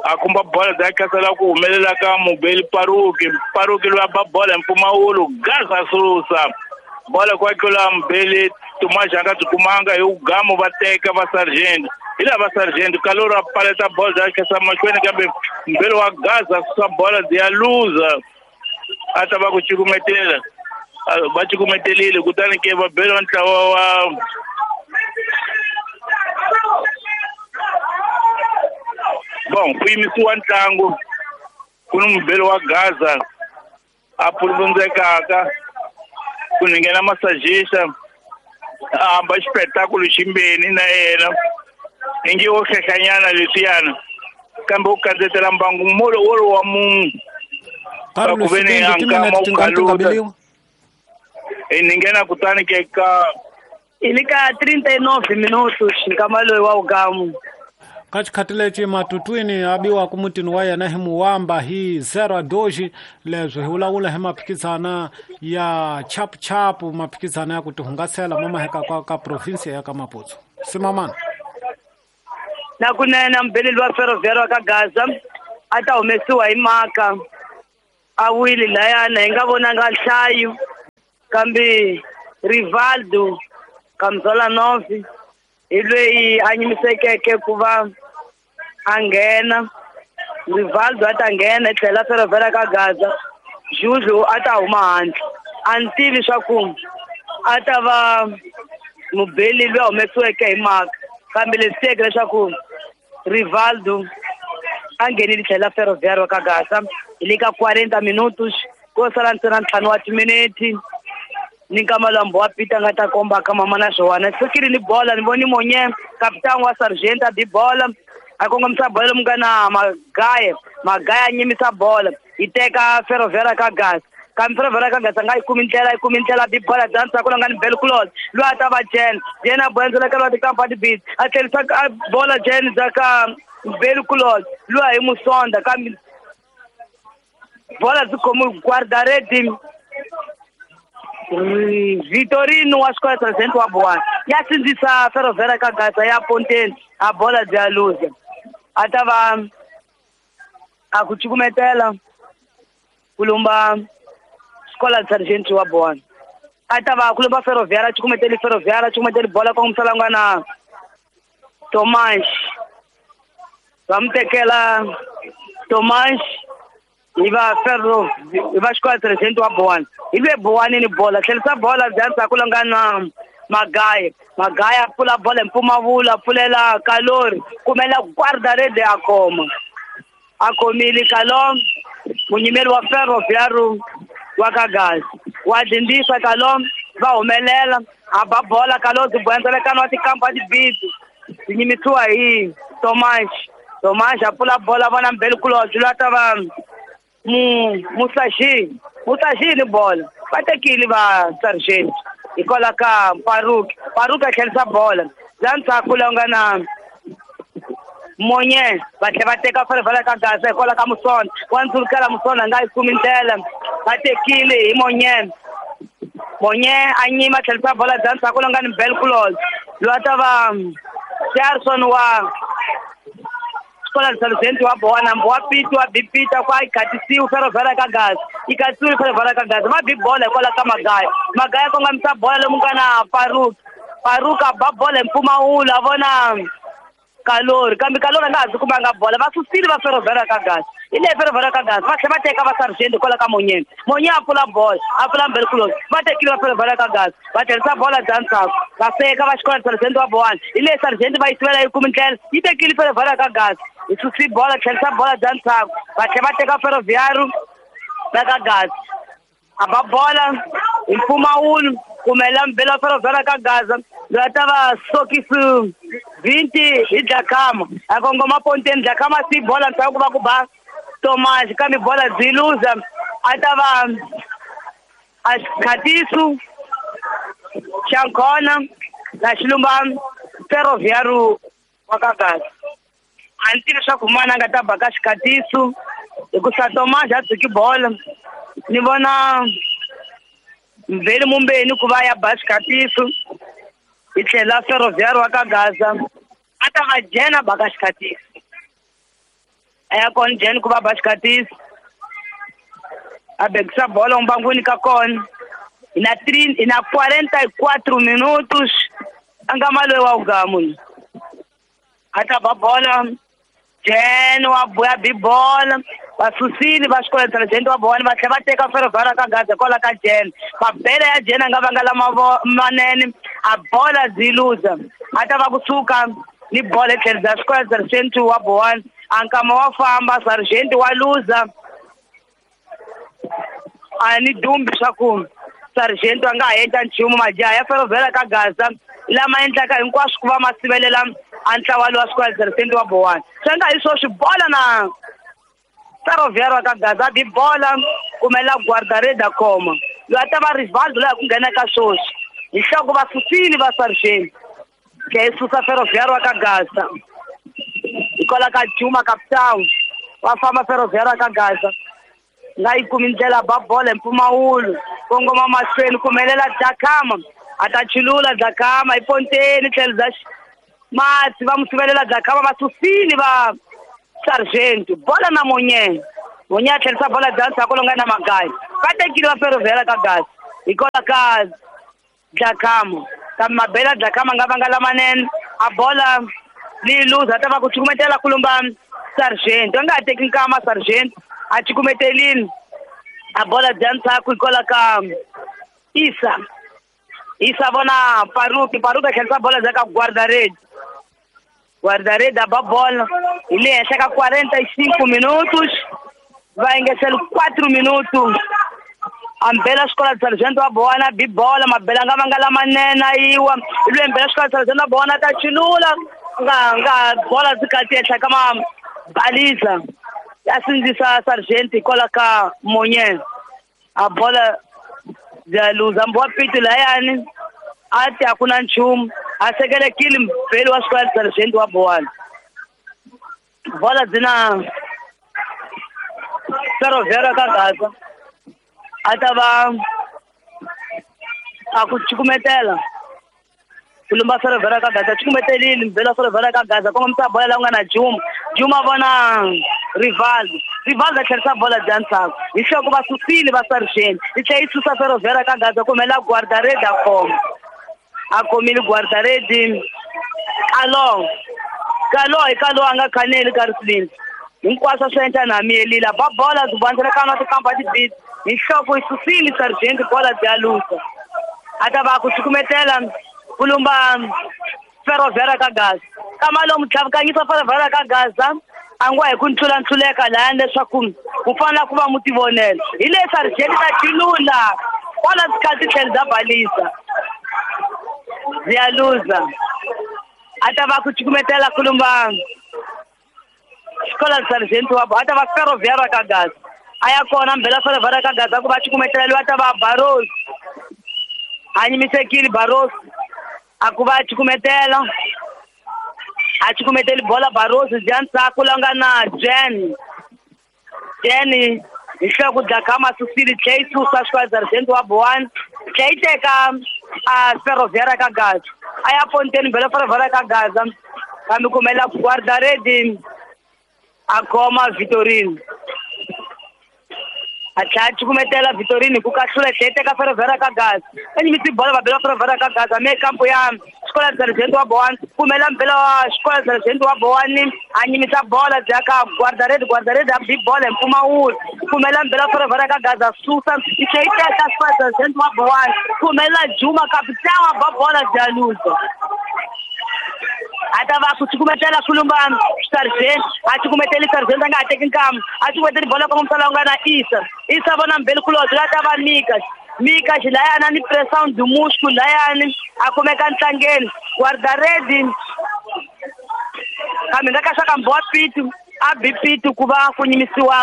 a khumba bola ya khasela ku humelela ka mubeli Paruki Paruki loyi a ba bola hi mpfumawulo Gaza susa bola ku akela mubeli Tomás a nga byi kumanga hi ugamu va teka va Sargento hi lava Sargento Kalori a paleta bola ya khesa mahlweni kambe mbeli wa Gaza susa bola ya luza a ta va ku cukumetela va cukumetelile kutani ke va bela wa ntlawa wa bon ku yimisiwa ntlangu ku ni mubeli wa Gaza a puluvundzekaka ku ni nghena masajista a hamba xipetakulo ximbeni na yena ingi wo hlehlanyana leswiyana kambe u kadzetela mbangu molo wolowo wa munhu ku ve ni a nkama u kaluta ni nghena kutani ke ka i le ka 39 minutos nkama loyi wa ugamu ka xikhati lexi matutwini a biwaka mutini wa yena hi Muwamba hi 0-2 leswi hi vulavula hi maphikizana ya chapuchapu maphikizana ya ku tihungasela mamaheka ka province ya ka Maputo simamana. Na kunene mubeleli wa Ferroviário wa ka Gaza a ta humesiwa hi maka a wile layana hi nga vonanga nhlayo kambe Rivaldo Kamzolanov hi loyi a nyimisekeke ku va a nghena. Rivaldo a ta nghena hi tlhela Ferroviário ka Gaza, Juju a ta huma handle. A ni tivi swa ku a ta va mubeli loyi a humesiweke hi maka, kambe leswi tiyeke leswaku Rivaldo a nghenile tlhela Ferroviário ka Gaza. Hi le ka 40 minutos ko sala ntsena 5 wa timinete ni nkama lwambo wa Peter nga ta komba ka mama na swona. Sukile ni bola ni voni monye kapitani wa Sargent a bi bola a kongomisa bola lomu nga na Magaya. Magaya a nyimisa bola yi teka Ferroviário ka Gaza, kambe Ferroviário ka Gaza nga yi kumi ndlela, yi kumi ndlela bi bola dansa ku nga ni Belkulot loyi a ta va Jen. Jen a bola ka lwa tikampani bit a tlherisa bola Jen za ka Belkulot loyi hi Musonda, kambe bola byi khomi guardaredi Vitorino wa xikolo President wa Bowana ya sindzisa Ferroviário ka Gaza ya ponteni a bola bya luza. A ta va a ku cukumetela ku lumba xikolo Sergeant wa Bowana. A ta va ku lumba Ferroviário, cukumeteli Ferroviário, cukumeteli bola kongomisa nga na Tomas. Va mu tekela Tomas hi va Ferro hi va xikolo Sergeant wa Bowana. Hi lwe Bowana ni bola tlherisa bola bya ndzhaku la nga na Magaya. Magaya a pfula bola hi mpfumawulo, a pfulela Kalori kumela guarda-rede a khoma. A khomile Kalom munyimeri wa Ferroviário wa ka Gaza. Wa dindisa Kalom va humelela a ba bola Kalori byi boyandzalekana wa tikampani bisi byi nyimisiwa hi Tomas. Tomas a pfula bola vona Mbelkulobye loyi a ta va Musashi. Musashi ni bola va tekile va Sergeant hikwalaho ka Paruki. Paruki a tlherisa bola bya ndzhaku la nga na Monye va tlhela va teka Ferroviário ka Gaza hikwalaho ka Musonda. Wa ndzulukela Musonda nga yi kumi ndlela, va tekile hi Monye. Monye a nyima tlherisa bola bya ndzhaku la nga ni Belkulot loyi a ta va Charlson wa xikolo Sergeant wa Bowana. Wa Piti wa bi Peter kwa yi khatisiwe Ferroviário ka Gaza, yi khatisiwe Ferroviário ka Gaza. Va bi bola hikwalaho ka Magaya. Magaya kongomisa bola lomu nga na Paruki. Paruki a ba bola hi mpfumawulo a vona Kalori, kambe Kalori a nga ha byi kumanga bola. Va susile va Ferroviário ka Gaza. Hi leyi Ferroviário ka Gaza va tlhela va teka va Sergeant hikwalaho ka Monyeni. Monye a pfula bola, a pfula Mbelkulot. Va tekile va Ferroviário ka Gaza va tlherisa bola bya ndzhaku va feka va xikolo Sergeant wa Bowana. Hi leyi Sergeant va yi sivela yi kumi ndlela, yi tekile Ferroviário ka Gaza. Hi susi bola tlherisa bola bya ndzhaku va tlhela va teka Ferroviário va ka Gaza. A ba bola hi mpfumawulo kumela mbela Ferroviário ka Gaza loyi a ta va Sokisi 20 hi Dlakama. A kongoma ponteni Dlakama si bola ndzhaku va ku ba Tomas, kambe bola byi luza. A ta va a Khatisu xa Nkhona na Xilumba Ferroviário wa ka Gaza. A ni tivi leswaku mana a nga ta ba ka Xikhatisu hikusa Tomas a tshiki bola. Ni vona Mveli Mumbeni ku va ya ba Xikhatisu hi tlhela Ferroviário wa ka Gaza a ta va Jena ba ka Xikhatisu. A ya kona Jen ku va ba Xikhatisu a bekisa bola mbangwini ka kona. Hi na 3 hi na 44 minutos a nga maloyi wa ugamu. A ta ba bola Jen wa buya bi bola va susile va xikolo Sergeant wa Bowana va tlhela va teka Ferroviário ka Gaza hikwalaho ka Jen. Mabele ya Jen a nga vanga lama manene a bola byi luza. A ta va kusuka ni bola hi tlhelo bya xikolo Sergeant wa Bowana. A nkama wa famba Sergeant wa luza. A ni dumbi swa ku Sergeant a nga ha endla nchumu. Majaha ya Ferroviário ka Gaza lama endlaka hinkwaswo ku va ma sivelela a ntlawa lowa xikolo Sergeant wa Bowana. Swi nga hi swoswi bola na Ferroviário ka Gaza bi bola kumela guarda-rede a khoma loyi a ta va Rivaldo loyi a ku nghena ka swoswi hi nhloko va susile va Sergeant tlhe yi susa Ferroviário ka Gaza hikwalaho ka Juma Capitão va famba Ferroviário ka Gaza nga yi kumi ndlela ba bola hi mpfumawulo kongoma mahlweni kumelela Dlakama a ta chulula Dlakama hi ponteni tlhelo bya Mati va musivelela Dlakama va susile va Sargento bola na Monye Monye a tlherisa bola bya ndzhaku lowu nga na Magayi va tekile va Ferroviária ka Gaza hikwalaho ka Dlakama kambe mabela Dlakama nga vanga lamanene a bola leyi luza a ta va ku cukumetela kulumba Sargento a nga ha teki nkama Sargento a cukumetelini a bola bya ndzhaku hikwalaho ka Isa Isa vona Paruki Paruki a tlherisa bola bya ka Guardaredi Guardaredi a ba bola hi le henhla ka 45 minutos va engetela 4 minutos ambela xikola Sargento wa bona bi bola mabela nga vanga lamanene a yiwa lwe mbela xikola Sargento wa bona ta chilula nga nga bola byi kati henhla ka mabaliza ya sindzisa Sargento hikwalaho ka Monye a bola bya luza mbo wa pito layani a ti a ku na nchumu a sekelekile mbeli wa xikola Sargento wa Bowana bola byi na Ferroviária ka Gaza a ta va a ku cukumetela ku lumba Ferroviária ka Gaza cukumetelile mbeli wa Ferroviária ka Gaza kongomisa bola la ku nga na Juma Juma vona Rivaldo Rivaldo a tlherisa bola bya ndzhaku hi nhloko va susile va Sargento yi tlhela yi susa Ferroviária ka Gaza ku humelela Guardaredi a khoma a khomile Guardaredi Kalo Kalo hi Kalo a nga khaneli ka risilini hinkwaswo swi endla na miyelile ba bola byi vandzela ka na tikamba tibisi hi nhloko yi susile Sargento bola bya lusa a ta va ku cukumetela ku lumba Ferroviária ka Gaza kama lomu tlhavikanyisa Ferroviária ka Gaza a ngo hi ku ntlulantluleka lahayani leswaku ku fanele ku va mu tivonela hi le Sargento ta chilula kwala tikhathi tlhelo bya balisa bya luza a ta va ku cukumetela ku lumba xikola Sargento wa a ta va Ferroviária ka Gaza a ya kona mbela Ferroviária ka Gaza ku va cukumetela loyi a ta va Barros a nyimisekile Barros a ku va cukumetela a cukumeteli bola Barros bya ndzhaku la nga na Jen Jen hi nhloko Dlakama susile tlhe yi susa xikola Sargento wa Bowana tlhe yi teka a Ferroviária ka Gaza a ya ponteni mbela Ferroviária ka Gaza kambe kumela Guardaredi a khoma Vitorino a tlhela a cukumetela Vitorino hi ku kahlula tlhe teka Ferroviária ka Gaza a nyimisi bola va bela Ferroviária ka Gaza me kampo ya xikola Sargento wa Bowana kumela mbela wa xikola Sargento wa Bowana a nyimisa bola bya ka Guardaredi Guardaredi a bi bola hi mpfumawulo kumela mbela Ferroviária ka Gaza susa yi tlhe yi teka xikola Sargento wa Bowana kumela Juma capitão a ba bola bya luza a ta va ku cukumetela kulumba Sargento a cukumeteli Sargento a nga ha teki nkama a cukumeteli bola kongomisa la nga na Isa Isa vona mbeli kulobye la ta va Mika Mika xilayani ni pressão do músculo layani a kumeka ntlangeni Guardaredi kambe nga ka xa ka mbowa pitu a bi pitu ku va ku nyimisiwa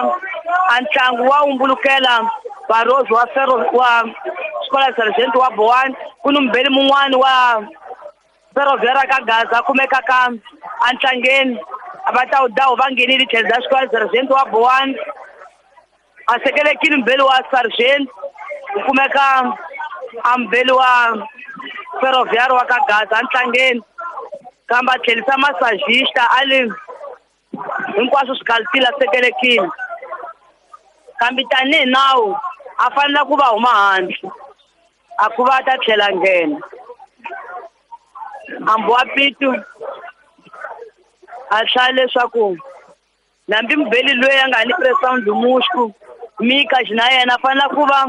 a ntlangu wa umbulukela Barros wa Ferro wa xikola Sargento wa Bowana ku ni mbeli mun'wani wa Ferroviária ka Gaza kumeka ka antlangeni va ta wu dawu va nghenile tlhelo bya xikola Sargento wa Bowana a sekelekile mbeli wa Sargento ku kumeka a mbeli wa Ferroviária wa ka Gaza antlangeni kambe a tlherisa massagista a li hinkwaswo swi kalitile a sekelekile kambe tanihi nawu a fanele ku va huma handle a ku va ta tlhela nghena ambo wa pitu a hlaya leswaku nambi mubeli loyi a nga ni pressão do músculo Mika na yena a fanele ku va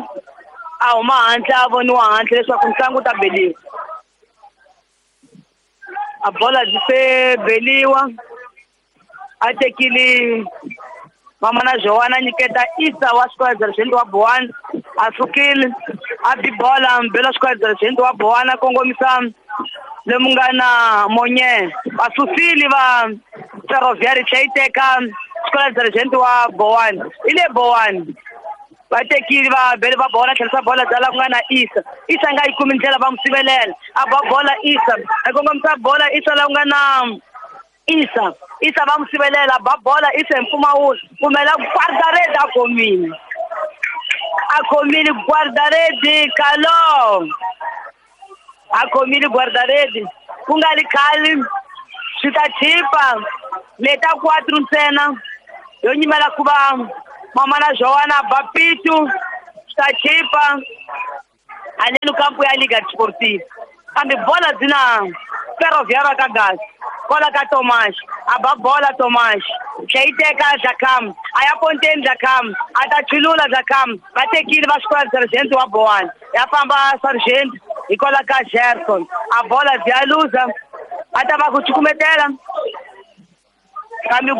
a huma handle a voniwa handle leswaku ntlangu wu ta beliwa a bola byi se beliwa a tekile mama na Joana nyiketa Isa wa xikola Sargento wa Bowana a sukile a bi bola mbela xikola Sargento wa Bowana kongomisa lomu nga na Monye va susile va Ferroviária tlhe yi teka xikola Sargento wa Bowana hi le Bowana va tekile va bele va bola tlherisa bola bya la ku nga na Isa Isa nga yi kumi ndlela va mu sivelela a ba bola Isa a kongomisa bola Isa la ku nga na Isa Isa va mu sivelela ba bola Isa hi mpfumawulo kumela Guardaredi a khomile a khomile Guardaredi Kalo a khomile Guardaredi ku nga li khali Swi ta chipa leta 4 ntsena yo nyimela ku va mama na Joana Bapitu swi ta chipa haleno kampo ya Liga Desportiva kambe bola byi na Ferroviário ka Gaza kola ka Tomás a ba bola Tomás tlhe yi teka Dlakam a ya ponteni Dlakam a ta chulula Dlakam va tekile va xikola Sergeant wa Bowana ya famba Sergeant hi kola ka Gerson a bola byi ya luza a ta va ku cukumetela kambe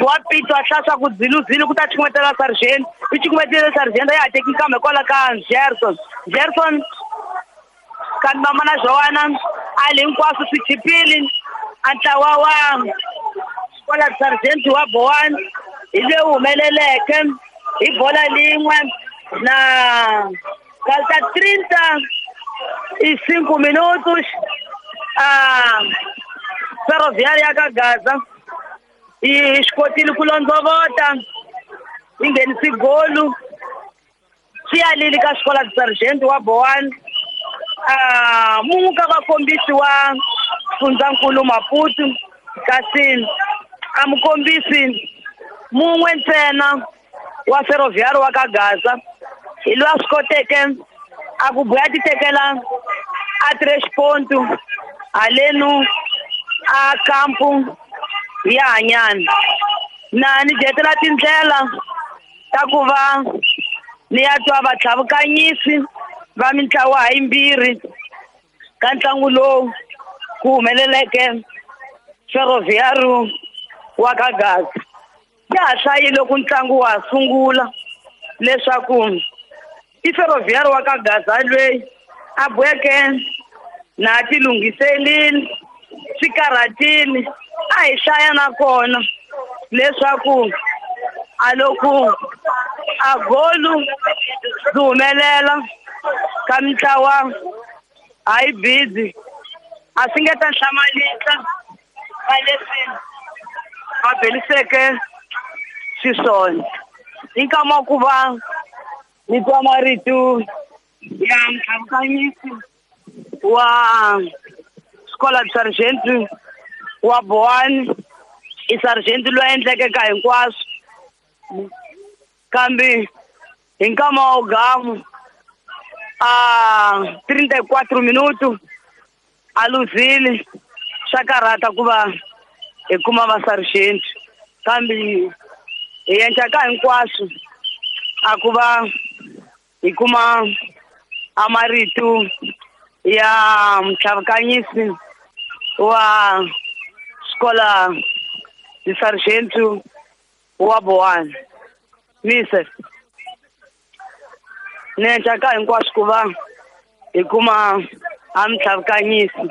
wa Pito a hlaya ku dziluzile ku ta cukumetela Sergeant i cukumetele Sergeant a ya ha teki kambe kwala ka Gerson Gerson kambe mama na Joana a le hinkwaswo swi chipile a ntlawa wa kwala Sergeant wa Bowana hi leyi humeleleke hi bola lin'we na falta 35 minutos a Ferroviária ya ka Gaza yi swi kotile ku londzovota yi nghenisi golu swi yalile ka xikola Sergeant wa Bowana mun'we ka vakombisi wa Fundzankulu Maputo kasi a mukombisi mun'we ntsena wa Ferroviário wa ka Gaza hi loyi a swi koteke a ku buya ti tekela a 3 ponto halenu a kampu ya Hanyana na ni dyetela tindlela ta ku va ni ya twa vatlhavukanyisi va mintlawa hayimbirhi ka ntlangu lowu ku humeleleke Ferroviário wa ka Gaza ya ha hlayile ku ntlangu wa sungula leswaku i Ferroviário wa ka Gaza loyi a boheke na ti lunghiselile swi karhatile a hi hlaya nakona leswaku a loko a golu byi humelela ka mintlawa hayi busy a swi nge ta hlamalisa ka leswi va beliseke xiswona hi nkama wa ku va ni twa marito ya mtlhavukanyisi wa Escola de Sargento wa Bowana i Sargent loyi a endleke ka hinkwaswo kambe hi nkama wa gamu a 34 minutos a luzile swa karhata ku va hi kuma va Sargent kambe hi endla ka hinkwaswo a ku va hi kuma a marito ya mtlhavukanyisi wa Escola de Sargento wa Bowana mise ni endla ka hinkwaswo ku va hi kuma a mtlhavukanyisi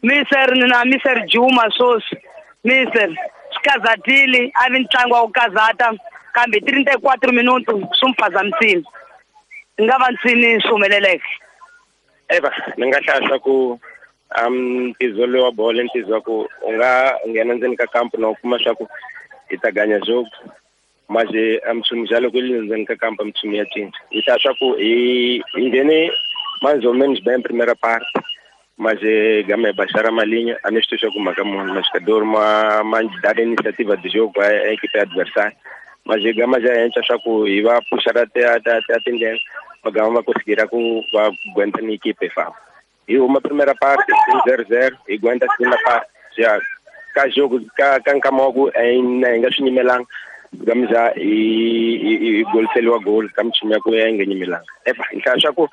miser ni na miser Juma sweswi miser swi kazatile a vi ntlangu wa ku kazata kambe 34 minutos swi mi phazamisile ni nga va ntsini swi humeleleke. Eva ni nga hlaya swa ku ntizo lowu wa bolo ntizo wa ku u nga nghena ndzeni ka kampu na u kuma swa ku hi ta ganya jogo manje mtshumi ja loko yi ndzeni ka kampu mtshumi ya cinca hi hlaya swa ku hi nghene mais ou menos bem primeira parte mas gama baixar uma linha a neste jogo maka mas jogador uma dar iniciativa de jogo a equipe adversária mas gama já entra só ku e vai puxar até a tendência a gama vai conseguir com vai aguentar na equipe fa e uma primeira parte 0-0 e aguenta a segunda parte já cá jogo cá cancamogo em engaxinyimelang gama já e gol selo gol kam tinha ku enganyimelang epa então só ku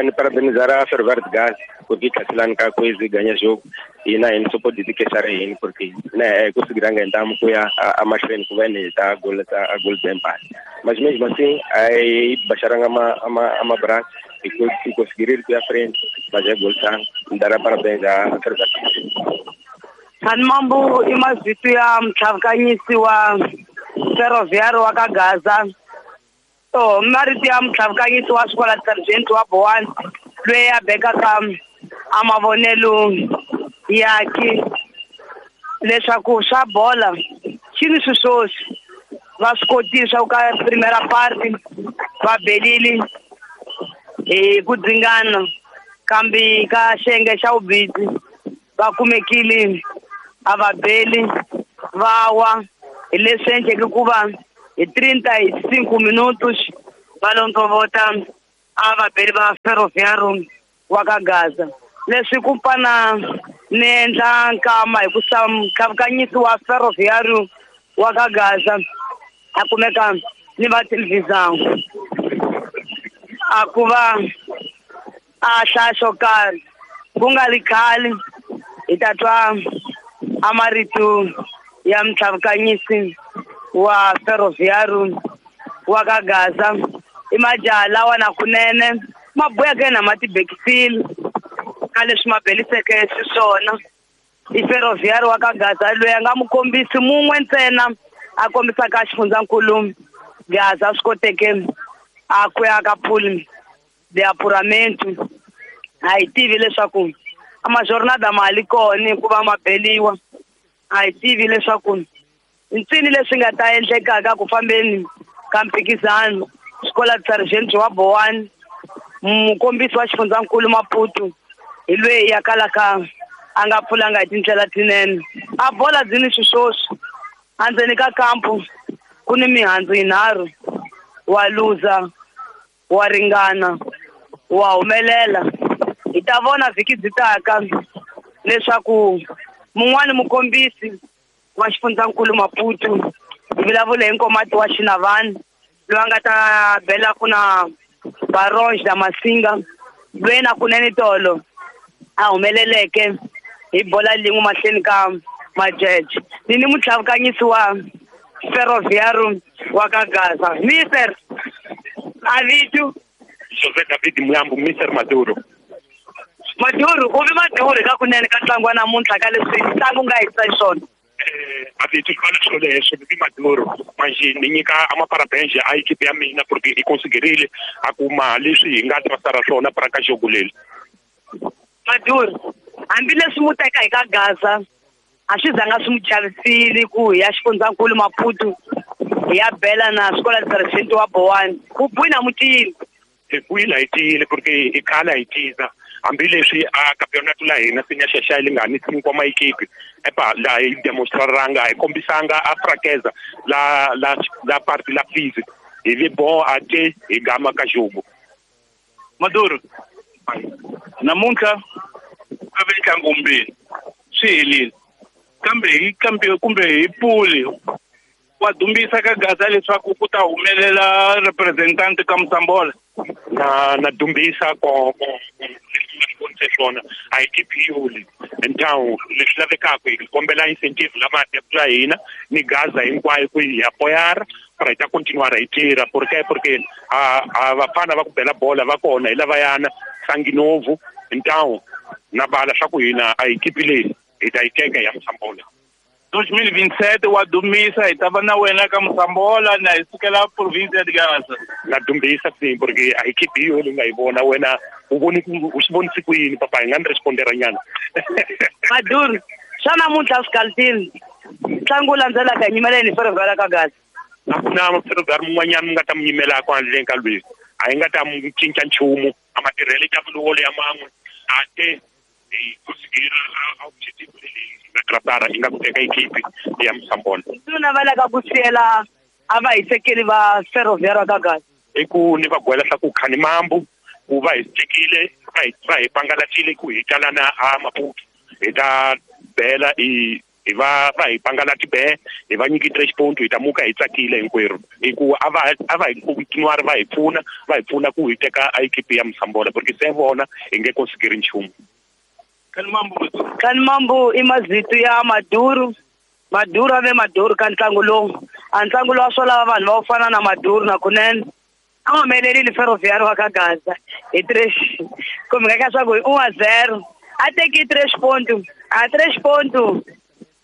ni parabenizar a Ferroviário de Gaza porque tá ka coisa ganha jogo e na não só pode dizer que é porque né conseguiram ganhar com a mais frente que vem tá gol de empate mas mesmo assim aí baixaram a braço e conseguiram ir à frente mas é gol tá dará parabéns a Ferroviário. Mambo i mazito ya mtlhavukanyisi wa Ferroviário wa ka Gaza to marito ya mtlhavukanyisi wa Escola de Sargento wa Bowana loyi a bekaka a mavonelo yake leswaku swa bola xi ni swiswoswi va swi kotile swa ku ka primera parte va belile hi ku dzingana kambe ka xiyenge xa vubisi Va kumekile a va beli va wa hi leswi endleke ku va hi 35 minutos va londzovota a va beli va Ferroviário wa ka Gaza. Leswi ku pfana ni endla nkama hi ku mukavukanyisi wa Ferroviário wa ka Gaza a kumeka ni va televisão a ku va a hlaya xo karhi ku nga ri khale hi ta twa a marito ya mutlhavukanyisi wa Ferroviário wa ka Gaza. I majaha lawa na kunene ma buyaka na ma tibekisile ka leswi ma beliseke xiswona. I Ferroviário wa ka Gaza loyi a nga mukombisi mun'we ntsena a kombisaka xifundzankulu Gaza swi koteke a ku ya ka pool de apuramento. A hi tivi leswaku a majornada ma li kona hikuva ma beliwa. A hi tivi leswaku ntsini leswi nga ta endlekaka ku fambeni ka mphikizano. Xikola Sergeant wa Bowani mukombisi wa xifundzankulu Maputo hi loyi ya kalaka a nga pfulanga hi tindlela tinene. A bola byi ni xiswoswi endzeni ka kampu ku ni mihandzu yinharhu: wa luza, wa ringana, wa humelela. Hi ta vona vhiki byi taka leswaku mun'wani mukombisi wa xifundzankulu Maputo hi vulavula hi Nkomati wa Xinavani loyi a nga ta bela ku na Baronge na Masinga loyi na kunene tolo a humeleleke hi bola lin'we mahlweni ka majeje. Ni ni mutlhavukanyisi wa Ferroviário wa ka Gaza, Mister Avitu José David Muyambo, Mister Maduro. Maduro, u vi Maduro ka kunene ka ntlangu wa namuntlha ka leswi ntlangu nga hisa xiswona. Avitu fala swoleswo ni vi Maduro manje ni nyika amaparabéns a equipe ya mina porque i conseguirile a kuma leswi hi nga trasara swona para ka jogo leli. Maduro, hambileswi mu teka hi ka Gaza a swi zanga swi mu chavisile ku hi ya xifundzankulu Maputo hi ya bela na Escola Sergeant wa Bowani. Ku buyi na mutiyile. Hi buyile hi tiyile porque i khala hi tiza hambileswi a campeonato la hina se nyaxaxa li nga ni cinco ma equipe epa la hi demonstraranga hi kombisanga a fraqueza la la la parte la física hi vi bon a te hi gama ka jogo. Maduro, namuntlha a ve ntlangu mbirhi swi helile kambe hi kambe kumbe hi puli wa dumbisa ka Gaza leswaku ku ta humelela representante ka Msambola. Na dumbisa ko leswi swona a equipe yoli então leswi lavekaka hi kombela incentive lama ya hina ni Gaza hinkwayo ku hi apoiar para hi ta continuar hi tirha porque a vafana va ku bela bola va kona hi lavayana Sanginovo então na bala swa ku hina a equipe leyi hi ta yi teka ya Msambola. 2027 wa dumisa hi ta va na wena ka Msambola na hi sukela province ya Gaza. Na dumbisa sim porque a equipe yo leyi nga yi vona wena u voni u swi vonisi ku yini papa hi nga ni respondera nyana. Maduro, swa namuntlha swi kalutini ntlangu wu landzelaka hi nyimela yini Ferroviário ka Gaza? A ku na Ferroviário mun'wanyana mi nga ta mi nyimela handleni ka lweyi a hi nga ta mu cinca nchumu a matirhelo ta vulolo ya man'we a te hi conseguir a objetivo leyi nga trapara hi nga ku teka equipe ya Msambola. Ndzi navelaka ku siyela a va hisekeli va Ferroviário ka Gaza i ku ni va gwela swa ku khani mambu ku va hi tekile va hi pangalatile ku hi talana a Maputo hi ta bela hi va hi pangalati be hi va nyiki 3 ponto hi ta muka hi tsakile hinkwerhu hi ku a va hi continuar va hi pfuna ku hi teka a equipe ya Msambola porque se vona hi nge conseguir nchumu. Khani Mambu i mazito ya Maduro. Maduro a ve Maduro ka ntlangu lowu. A ntlangu lowu a swo lava vanhu va ku fana na Maduro na kunene a humelerile Ferroviário wa ka Gaza hi 3 kumbe ka swa ku hi 1-0 a teki 3 ponto a 3 ponto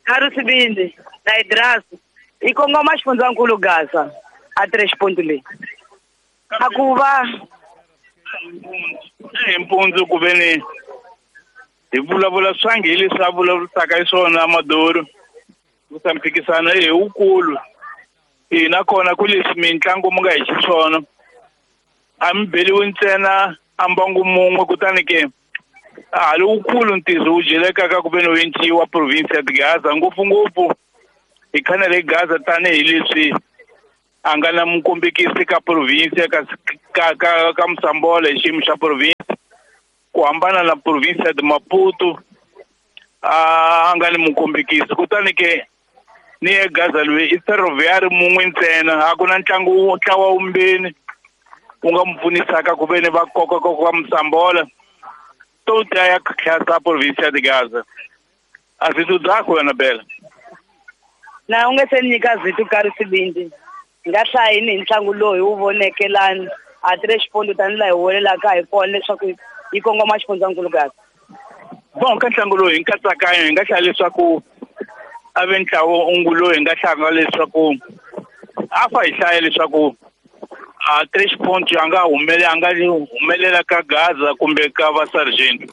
Carlos na Idras i kongoma xifundzankulu Gaza a 3 ponto leyi a ku va hi mpundzu ku ve ni hi vulavula swangi hi leswi a vulavurisaka hi swona Maduro ku sa mphikisano i wukulu hina kona ku leswi mitlangu mu nga hi xiswona a mi beliwi ntsena a mbangu mun'we kutani ke A lowukulu ntirho wu dyelekaka ku ve ni wu province ya Gaza ngopfungopfu hi khanele Gaza tanihileswi a nga na mukombekisi ka province ka Mosambola hi xiyimo xa province ku hambana na province ya Maputo a nga ni mukombekisi kutani ke ni ye Gaza loyi i Ferroviário mun'we ntsena a ku na ntlangu ntlawa wumbeni wu nga mu pfunisaka ku ve ni va kokakoka Mosambola to ta ya tlhasa province ya Gaza a zithu dzakho wena Bela na u nge se nyika zithu ka risivindi nga hlayini hi ntlangu lowu hi wu voneke lani a tire xipondo tanihi laha hi welelaka hi kona leswaku yi kongoma xifundzankulu Gaza. Bon ka ntlangu lowu hi nkatsakanyo hi nga hlaya leswaku a ve ntlawa ungu lowu hi nga hlanga leswaku a fa hi hlaya leswaku a tres ponto a nga humelela ka Gaza kumbe ka va Sargento.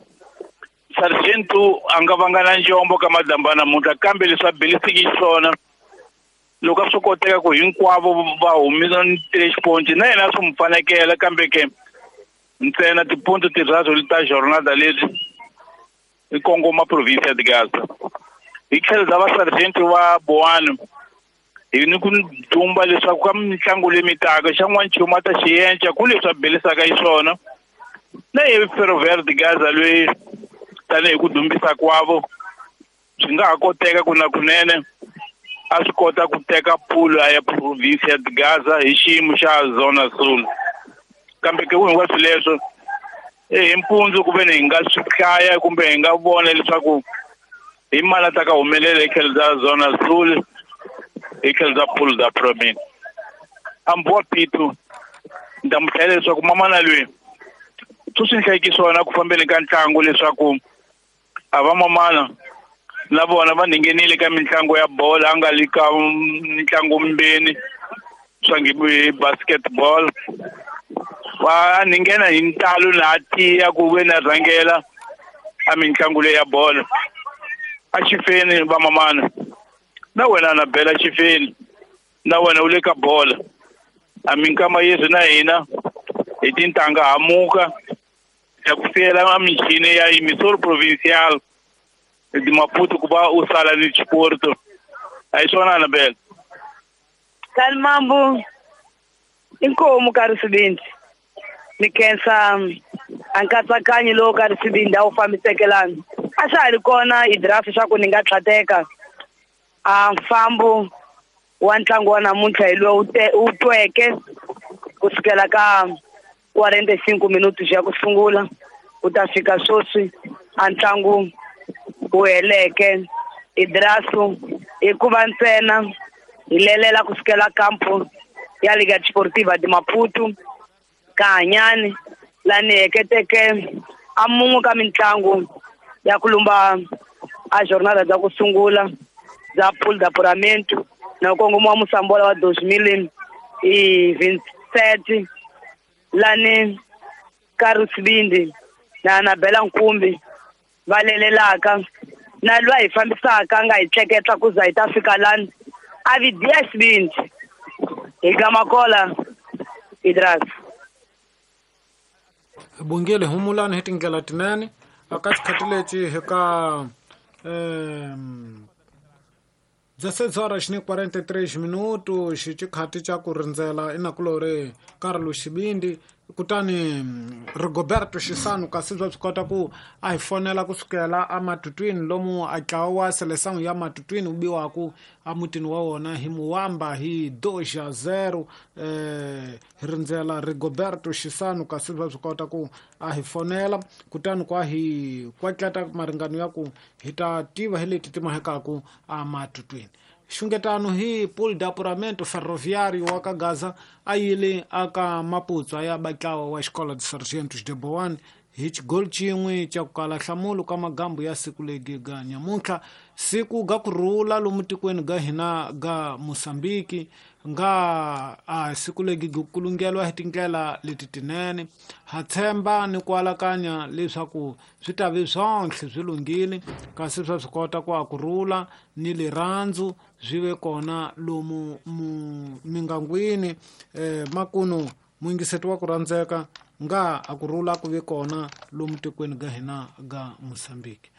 Sargento a nga vanga na njombo ka madamba namuntlha kambe leswi a belisiki xiswona loko a swi koteka ku hinkwavo va humisa tres ponto na yena swi mu fanekela kambe ke ntsena tiponto tirharu ta jornada leti i kongoma province ya Gaza. Hi tlhelo bya va Sargento wa Boano hi ni ku dumba leswaku ka mitlangu leyi mitaka xan'wana nchumu a ta xi yenca ku leswi a belisaka xiswona na ye Ferroviário de Gaza loyi tanihi ku dumbisa kwavo swi nga ha koteka ku na kunene a swi kota ku teka pulu ya province ya Gaza hi xiyimo xa Zona Sul kambe ke hinkwaswo leswo hi mpundzu ku ve ni hi nga swi hlaya kumbe hi nga vona leswaku hi mali a ta ka humelela hi tlhelo bya Zona Sul hi tlhelo bya pulu da province. Ambuwa Pitu ni ta mu hlayela leswaku mamana loyi swi ni hlayeki swona ku fambeni ka ntlangu leswaku a va mamana na vona va nghenile ka mitlangu ya bolo a nga le ka mitlangu mbeni swa nge basketball va nghena hi ntalo na tiya ku ve na rhangela a mitlangu leyi ya bolo a xifeni va mamana na wena na Bela xifeni na wena u le ka bola a minkama yesu na hina hi tintanga hamuka ya ku siyela michini ya emissor provincial de Maputo ku va u sala ni xiporto a hi swona na Bela. Kalmambu inkomu ka risivindi ni khensa a nkatsakanyo lowu ka risivindi a wu fambisekelani a swa ha ri kona i draft swa ku ni nga tlhateka a mfambo wa ntlangu wa namuntlha hi lowu wu tweke kusukela ka 45 minutos ya ku sungula ku ta fika sweswi a ntlangu wu heleke Idrasu hikuva ntsena hi lelela kusukela kampo ya Liga Desportiva de Maputo ka Hanyani lani heketeke a mun'we ka mitlangu ya ku lumba a jornada bya ku sungula bya pool d'apuramento na kongoma wa Mosambola wa 2027 lani Karusibindi na Nabela Nkumbi va lelelaka na lwa hi fambisaka nga hi tleketla ku za hi ta fika lani a vi diya xivindzi hi gamakola Idras. Bungile humulani hi tindlela tinene aka xikhathi lexi hi ka 16:43 minutos xikhathi xa ku rindzela inakulori Carlos Xibindi kutani Rigoberto Xisano kasi swa swi kota ku a hi fonela kusukela ematutwini lomu a tlawa seleção ya matutwini wu biwaku emutini wa wona hi Muwamba hi 2-0 hi rindzela Rigoberto Xisano kasi swa swi kota ku a hi fonela kutani kwa hi kwatlata maringano ya ku hi ta tiva hi leti ti mahekaku ematutwini. Xungetano hi pool d'apuramento Ferroviário wa ka Gaza a yile aka Maputo ya batlawa wa Escola de Sargentos de Boane hi xigoli xin'we xa ku kala nhlamulo ka magambu ya siku legi ga nyamuntlha siku ga ku rhula lomu tikweni ga hina ga Mozambique nga a siku legi ku kulungeliwa hi tindlela leti tinene ha tshemba ni ku alakanya leswaku swi ta vi swonhle swi lunghile kasi swa swi kota ku a ku rhula ni lirhandzu swi ve kona lomu mingangwini makunu muyingiseti wa ku rhandzeka Nga a ku rhula ku ve kona lomu tikweni ga hina ga Mosambiki.